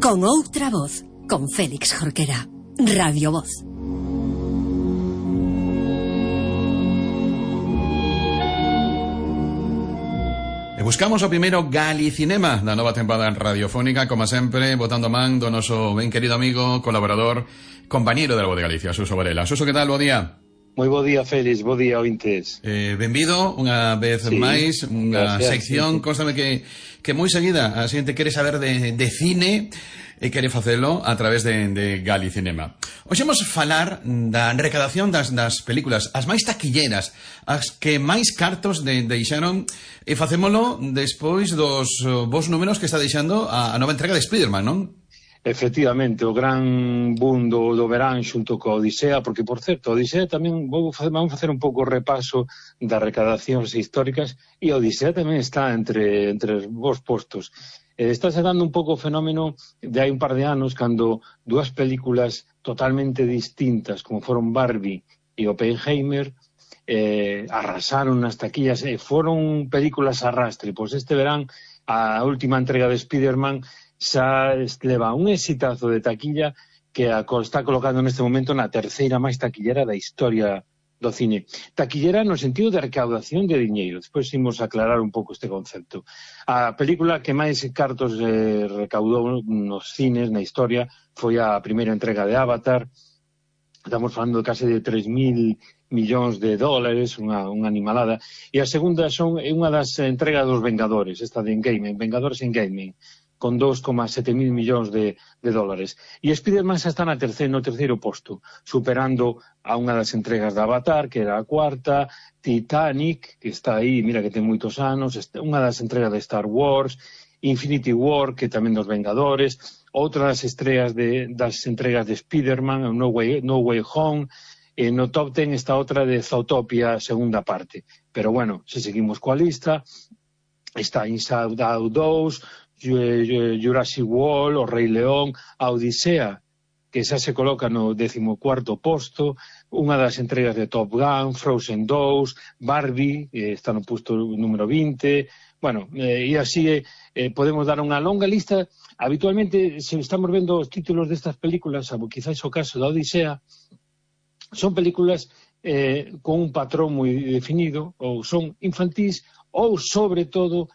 Con outra voz, con Félix Jorquera. Radio Voz. E buscamos o primeiro Galicinema da nova temporada radiofónica, como sempre, botando man do noso ben querido amigo, colaborador, compañeiro da Voz de Galicia, Suso Varela. Suso, que tal? Bo día. Moi bo día, Félix, bo día, ointes. Benvido unha vez máis, unha sección, constame que moi seguida a xente quere saber de cine e quere facelo a través de Galicinema. Hoxe vamos falar da recadación das películas, as máis taquilleras, as que máis cartos deixaron, e facémolo despois dos vos números que está deixando a nova entrega de Spiderman, non? Efectivamente, o gran boom do verán xunto co Odisea, porque, por certo, a Odisea tamén vamos facer un pouco o repaso das recadacións históricas, e a Odisea tamén está entre os vos postos. Está se dando un pouco o fenómeno de hai un par de anos, cando dúas películas totalmente distintas, como foron Barbie e Oppenheimer, arrasaron nas taquillas e foron películas arrastre. Pois este verán, a última entrega de Spiderman xa leva un exitazo de taquilla que está colocando neste momento na terceira máis taquillera da historia do cine. Taquillera no sentido de recaudación de diñeiro. Despois imos aclarar un pouco este concepto. A película que máis cartos recaudou nos cines na historia foi a primeira entrega de Avatar. Estamos falando de case de 3.000 millóns de dólares, unha animalada. E a segunda é unha das entregas dos Vengadores, esta de Endgame, Vengadores Endgame, con 2,7 mil millóns de dólares. E Spiderman xa está no terceiro posto, superando a unha das entregas de Avatar, que era a cuarta, Titanic, que está aí, mira que ten moitos anos, unha das entregas de Star Wars, Infinity War, que tamén dos Vengadores, outra das estreas das entregas de Spiderman, No Way Home, e no top 10 está outra de Zootopia, segunda parte. Pero bueno, se seguimos coa lista, está Inside Out 2, Jurassic World, O Rei León, a Odisea, que xa se coloca no 14º posto, unha das entregas de Top Gun, Frozen 2, Barbie, está no posto número 20, bueno, e así podemos dar unha longa lista. Habitualmente, se estamos vendo os títulos destas películas, quizás o caso da Odisea, son películas con un patrón moi definido, ou son infantís, ou, sobre todo,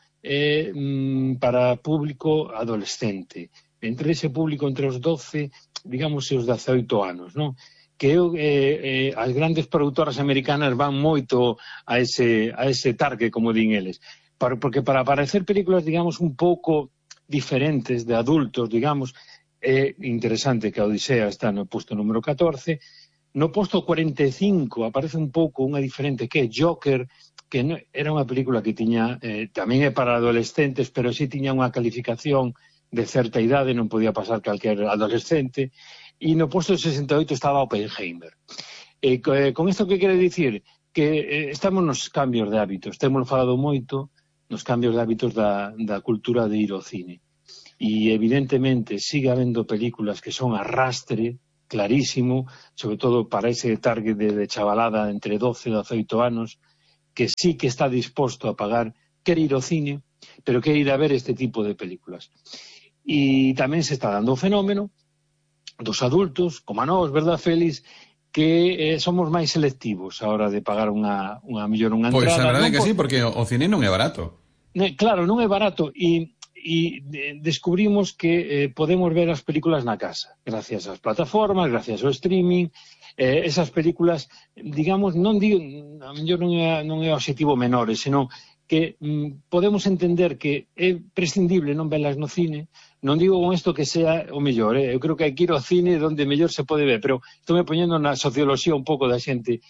para público adolescente, entre ese público entre os 12, digamos, e os 18 anos, non? Que as grandes produtoras americanas van moito a ese target, como din eles, porque para aparecer películas, digamos, un pouco diferentes de adultos, digamos, é interesante que a Odisea está no posto número 14, no posto 45 aparece un pouco unha diferente que é Joker, que era unha película que tiña, tamén é para adolescentes, pero sí tiña unha calificación de certa idade, non podía pasar calquer adolescente, e no posto 68 estaba Oppenheimer. Con isto que quere dicir? Que estamos nos cambios de hábitos, temos falado moito nos cambios de hábitos da cultura de ir ao cine, e evidentemente sigue habendo películas que son arrastre, clarísimo, sobre todo para ese target de chavalada entre 12 e 18 anos, que sí que está disposto a pagar, quer ir ao cine, pero quer ir a ver este tipo de películas. E tamén se está dando o fenómeno dos adultos, como a nós, verdad, Félix, que somos máis selectivos a hora de pagar unha entrada. Pois a verdade é que sí, porque o cine non é barato. Claro, non é barato, e descubrimos que podemos ver as películas na casa, gracias ás plataformas, gracias ao streaming. Esas películas, digamos, non digo, a mellor non é o objetivo menores, senón que podemos entender que é prescindible non velas no cine. Non digo con isto que sea o mellor, eu creo que hai que ir ao cine onde mellor se pode ver, pero estou me poñendo na socioloxía un pouco da xente,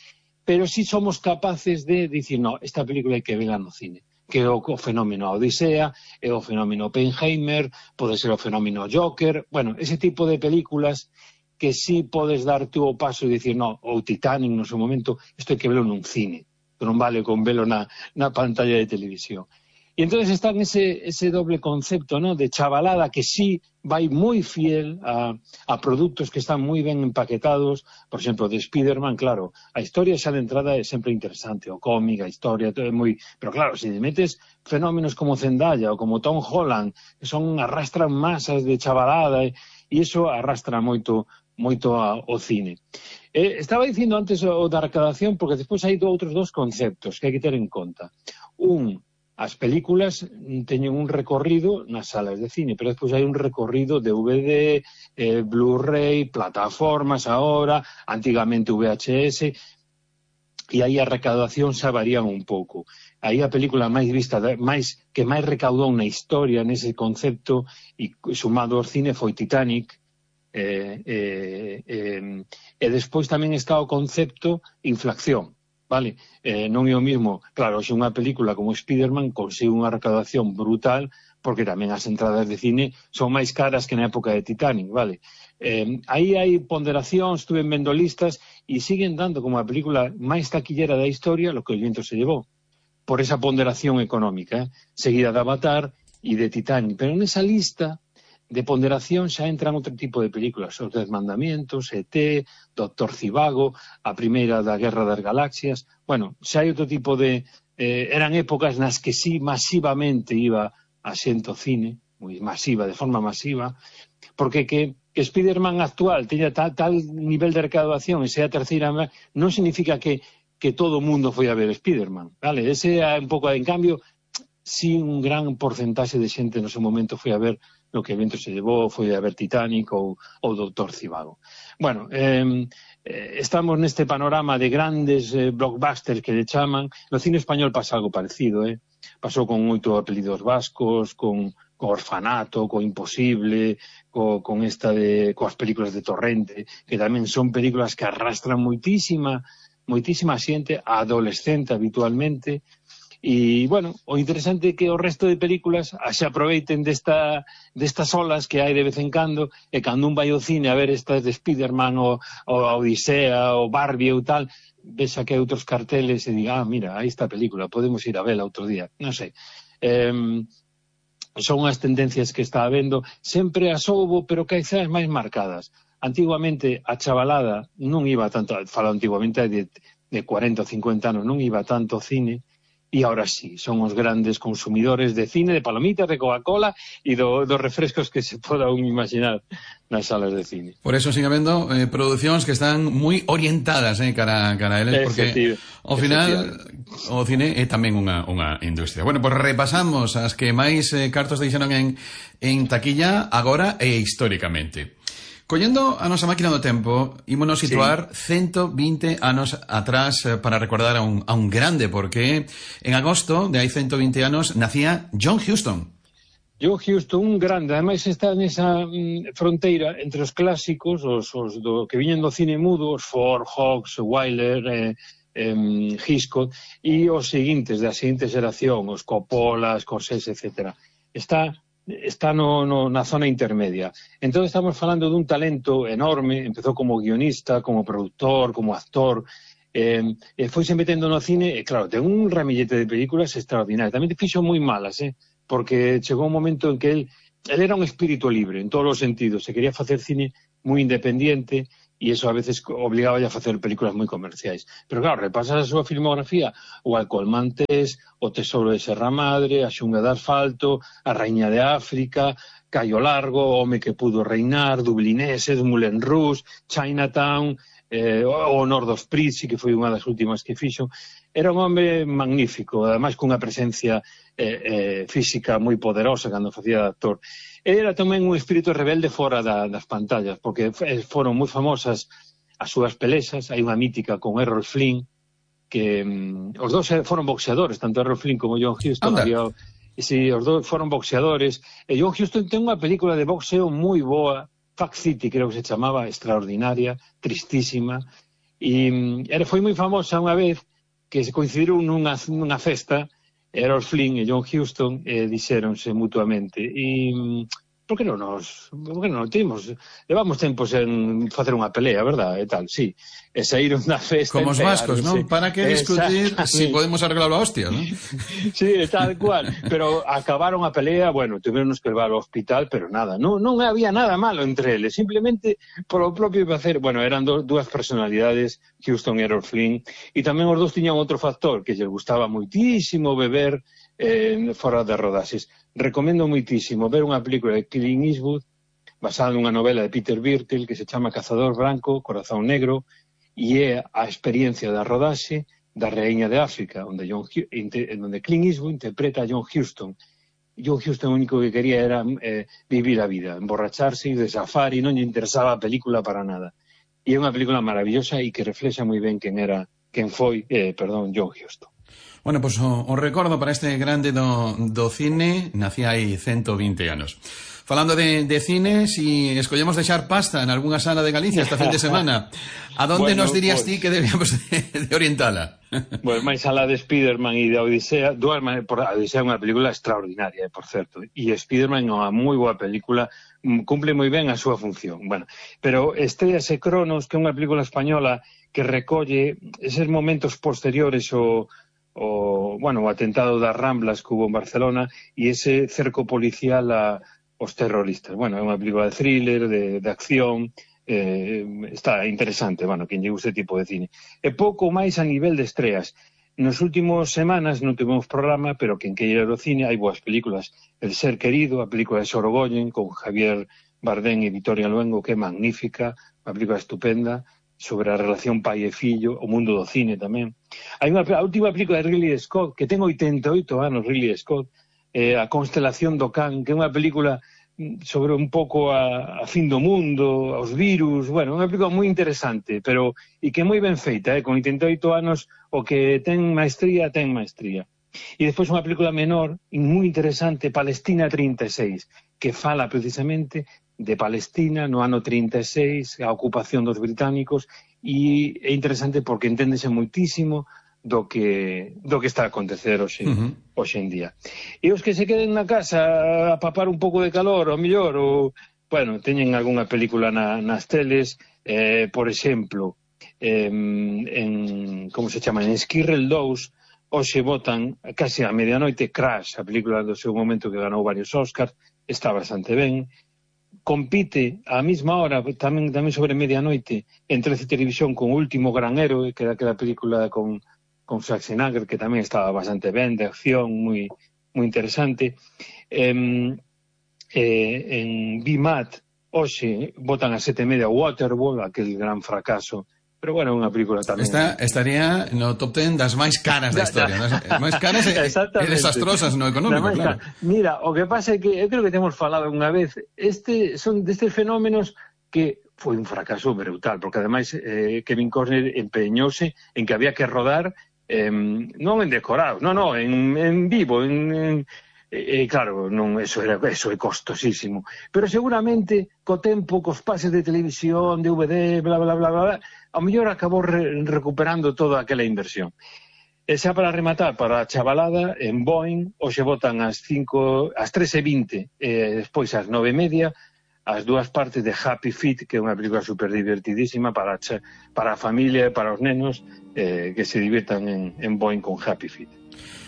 pero si somos capaces de dicir, no, esta película hai que vela no cine, que é o fenómeno Odisea, é o fenómeno Oppenheimer, pode ser o fenómeno Joker, bueno, ese tipo de películas que sí podes dar tú o paso e dicir, no, ou Titanic no seu momento, isto hai que velo nun cine, non vale con velo na pantalla de televisión. E entonces está ese doble concepto, ¿no?, de chavalada que sí vai moi fiel a produtos que están moi ben empaquetados. Por exemplo, de Spider-Man, claro, a historia xa de entrada é sempre interesante, o cómic, a historia, todo é moi... Pero claro, se metes fenómenos como Zendaya ou como Tom Holland, que arrastran masas de chavalada, e iso arrastra moito ao cine. Estaba dicindo antes o da recadación, porque despois hai outros dos conceptos que hai que ter en conta. As películas teñen un recorrido nas salas de cine, pero despois hai un recorrido DVD, Blu-ray, plataformas agora, antigamente VHS, e aí a recaudación xa varían un pouco. Aí a película máis vista, que máis recaudou na historia nese concepto, e sumado ao cine, foi Titanic, e despois tamén está o concepto inflación. Vale, non é o mismo, claro, se unha película como Spider-Man consigue unha recaudación brutal, porque tamén as entradas de cine son máis caras que na época de Titanic, vale. Aí hai ponderacións, estuve vendo listas, e siguen dando como a película máis taquillera da historia Lo que el viento se llevó, por esa ponderación económica, seguida de Avatar e de Titanic. Pero nesa lista de ponderación xa entran outro tipo de películas, Os 10 mandamientos, E.T., Doctor Zivago, a primeira da Guerra das Galaxias. Bueno, xa hai outro tipo de... eran épocas nas que sí masivamente iba a xente ao cine, moi masiva, de forma masiva, porque que Spider-Man actual teña tal nivel de recaudación e sea a terceira, non significa que todo o mundo foi a ver Spider-Man, vale? Ese é un pouco, en cambio, sí un gran porcentaxe de xente no seu momento foi a ver Lo que el viento se llevó, foi a ver Titanic ou Doctor Zivago. Bueno, estamos neste panorama de grandes blockbusters que le chaman. No cine español pasa algo parecido, pasou con 8 apelidos vascos, con Orfanato, con Imposible, coas películas de Torrente, que tamén son películas que arrastran moitísima xente, adolescente habitualmente. E, bueno, o interesante é que o resto de películas se aproveiten destas olas que hai de vez en cando, e cando un vai ao cine a ver estas de Spider-Man ou a Odisea ou Barbie ou tal, vexa que hai outros carteles e diga, mira, aí está a película, podemos ir a vela outro día, non sei. Son as tendencias que está habendo, sempre as houbo, pero quizás máis marcadas. Antiguamente a chavalada non iba tanto, falo antiguamente de 40 ou 50 anos, non iba tanto ao cine. E agora sí, son os grandes consumidores de cine, de palomitas, de Coca-Cola e dos refrescos que se poda un imaginar nas salas de cine. Por eso sigue habendo producións que están moi orientadas cara a eles, porque ao final o cine é tamén unha industria. Bueno, pues repasamos as que máis cartos deixaron en taquilla agora e históricamente. Collendo a nosa máquina do tempo, ímonos situar 120 anos atrás para recordar a un grande, porque en agosto de hai 120 anos nacía John Huston. John Huston, un grande, ademais está nesa fronteira entre os clásicos, os que viñen do cine mudo, os Ford, Hawks, Wyler, Hitchcock, e os seguintes, da seguinte xeración, os Coppola, Scorsese, etc. Está na zona intermedia. Entón estamos falando dun talento enorme, empezou como guionista, como productor, como actor, foise metendo no cine, e claro, ten un ramillete de películas extraordinarias. Tamén te fixo moi malas, porque chegou un momento en que él era un espírito libre, en todos os sentidos, se quería facer cine moi independiente, e iso a veces obligaba a facer películas moi comerciais. Pero claro, repasas a súa filmografía, o Alcohol Maltés, O Tesouro de Serra Madre, A Xunga de Asfalto, A Raíña de África, Caio Largo, O home que pudo reinar, Dublineses, Moulin Rouge, Chinatown, O Honor dos Prizzi, que foi unha das últimas que fixo. Era un home magnífico, ademais cunha presencia física moi poderosa cando facía de actor. Era tamén un espírito rebelde fora das pantallas, porque foron moi famosas as súas pelexas. Hai unha mítica con Errol Flynn, que os dous foron boxeadores, tanto Errol Flynn como John Huston. Os dous foron boxeadores, e John Huston ten unha película de boxeo moi boa, Fact City, creo que se chamaba, extraordinaria, tristísima, e foi moi famosa unha vez que se coincidiron nunha festa, Errol Flynn e John Huston, dixéronse mutuamente, e por que non levamos tempos en facer unha pelea, verdad, e tal, sí, e saíron da festa como os vascos, non? Para que discutir si podemos arreglarlo a hostia, non? Sí, tal cual, pero acabaron a pelea, bueno, tuveronos que levar ao hospital, pero nada, non había nada malo entre eles, simplemente polo propio placer. Bueno, eran dúas personalidades, Huston e Errol Flynn, e tamén os dous tiñan outro factor, que lles gustaba moitísimo beber fora de rodaxes. Recomendo moitísimo ver unha película de Clint Eastwood basada nunha novela de Peter Birtell que se chama Cazador Branco, Corazón Negro, e é a experiencia da rodaxe da Raíña de África, onde Clint Eastwood interpreta a John Huston. John Huston o único que quería era vivir a vida, emborracharse, ir de safari, non lle interesaba a película para nada. E é unha película maravillosa e que reflexa moi ben quen foi John Huston. Bueno, pois o recordo para este grande do cine, nacía hai 120 anos. Falando de cine, si escollemos deixar pasta en algunha sala de Galicia esta fin de semana, a donde nos dirías ti que debíamos de orientala? Bueno, máis alá de Spiderman e de Odisea, Odisea é unha película extraordinaria, por certo, e Spiderman é unha moi boa película, cumple moi ben a súa función. Bueno, pero estréase Cronos, que é unha película española que recolle eses momentos posteriores o atentado das Ramblas que hubo en Barcelona e ese cerco policial aos terroristas. Bueno, é unha película de thriller, de acción, está interesante, bueno, quen lle guste tipo de cine. E pouco máis a nivel de estreas. Nos últimos semanas non tivemos programa, pero quen queira ir ao cine, hai boas películas. El ser querido, a película de Sorogoyen, con Javier Bardem e Victoria Luengo, que é magnífica, unha película estupenda, sobre a relación pai e fillo, o mundo do cine tamén. Hai a última película de Ridley Scott, que ten 88 anos, Ridley Scott, A constelación do Can, que é unha película sobre un pouco a fin do mundo, aos virus, bueno, unha película moi interesante, pero e que é moi ben feita, con 88 anos, o que ten maestría. E despois unha película menor, moi interesante, Palestina 36, que fala precisamente de Palestina no ano 36, a ocupación dos británicos, e é interesante porque enténdese moitísimo do que está a acontecer hoxe en día. E os que se queden na casa a papar un pouco de calor, ou mellor, bueno, teñen algunha película nas teles, por exemplo, como se chama, en Esquirrel 2, hoxe botan casi a medianoite Crash, a película do seu momento que ganou varios Oscars, está bastante ben. Compite á mesma hora, tamén sobre medianoite, en 13 Televisión con Último Gran Héroe, que é aquela película con Schwarzenegger, que tamén estaba bastante ben, de acción, moi interesante. En BMAT, hoxe, botan a 7:30 Waterworld, aquel gran fracaso. Pero bueno, unha película tamén. Estaría no top 10 das máis caras da historia. Máis caras e desastrosas no económico, claro. Mira, o que pasa é que eu creo que temos falado unha vez, son destes fenómenos que foi un fracaso brutal, porque ademais Kevin Costner empeñouse en que había que rodar non en decorados, en vivo, claro, eso é costosísimo, pero seguramente co tempo, cos pases de televisión, DVD, bla, bla, bla, bla, ao mellor acabou recuperando toda aquela inversión. E xa para rematar, para a chavalada, en Boeing, hoxe botan ás 3:20, despois ás 9:30, as dúas partes de Happy Feet, que é unha película super divertidísima para a familia e para os nenos, que se divirtan en Boeing con Happy Feet.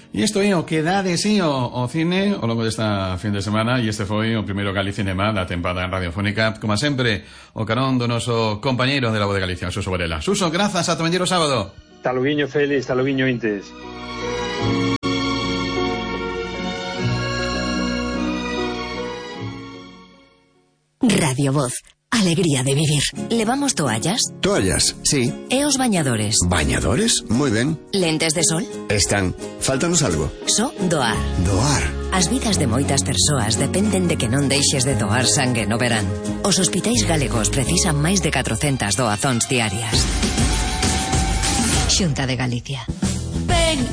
E isto é o que dá de sí o cine ao longo desta fin de semana, e este foi o primeiro Galicinema da tempada radiofónica, como sempre, o carón do noso compañeiro de La Voz de Galicia, Suso Varela. Suso, grazas, ata vendeiro sábado. Taluguiño, Félix, taluguiño, Intes. Radio Voz. Alegría de vivir. ¿Levamos toallas? Toallas, sí. E os bañadores? ¿Bañadores? Moi ben. Lentes de sol? Están. Fáltanos algo. Só doar. Doar. As vidas de moitas persoas dependen de que non deixes de doar sangue no verán. Os hospitais galegos precisan máis de 400 doazóns diarias. Xunta de Galicia. Ven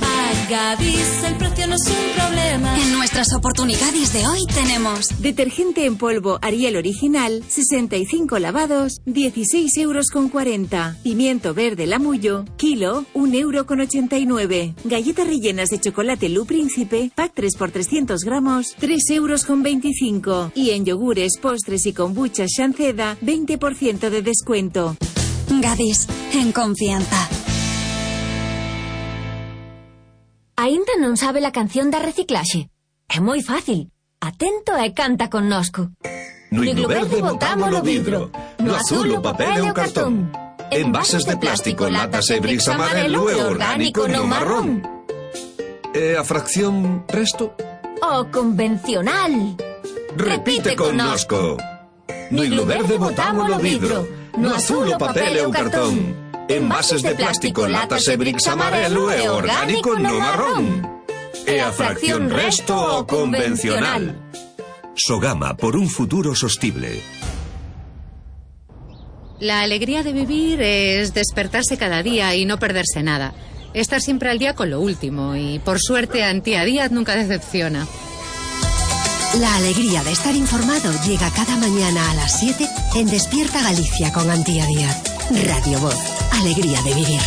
Gadis, el precio no es un problema. En nuestras oportunidades de hoy tenemos detergente en polvo Ariel original, 65 lavados, 16,40 €. Pimiento verde Lamullo, kilo, 1,89 €. Galletas rellenas de chocolate Lu Príncipe, pack 3 por 300 gramos, 3,25 €. Y en yogures, postres y kombucha Shanceda, 20% de descuento. Gadis, en confianza. Aínda non sabe la canción da reciclaxe? É moi fácil. Atento e canta connosco. No higlo verde botámolo vidro, no azul o papel e o cartón. Envases de plástico, latas e bricks amarelo e orgánico no marrón. E a fracción resto? O convencional. Repite connosco. No higlo verde botámolo vidro, no azul o papel e o cartón. Envases de plástico, latas e bricks amarelo e orgánico no marrón. E a fracción resto o convencional. Sogama, por un futuro sostible. La alegría de vivir es despertarse cada día y no perderse nada. Estar siempre al día con lo último y, por suerte, Antía Díaz nunca decepciona. La alegría de estar informado llega cada mañana a las 7 en Despierta Galicia con Antía Díaz. Radio Voz. Alegría de vivir.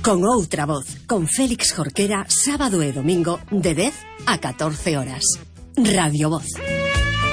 Con outra voz, con Félix Jorquera, sábado e domingo, de 10 a 14 horas. Radio Voz.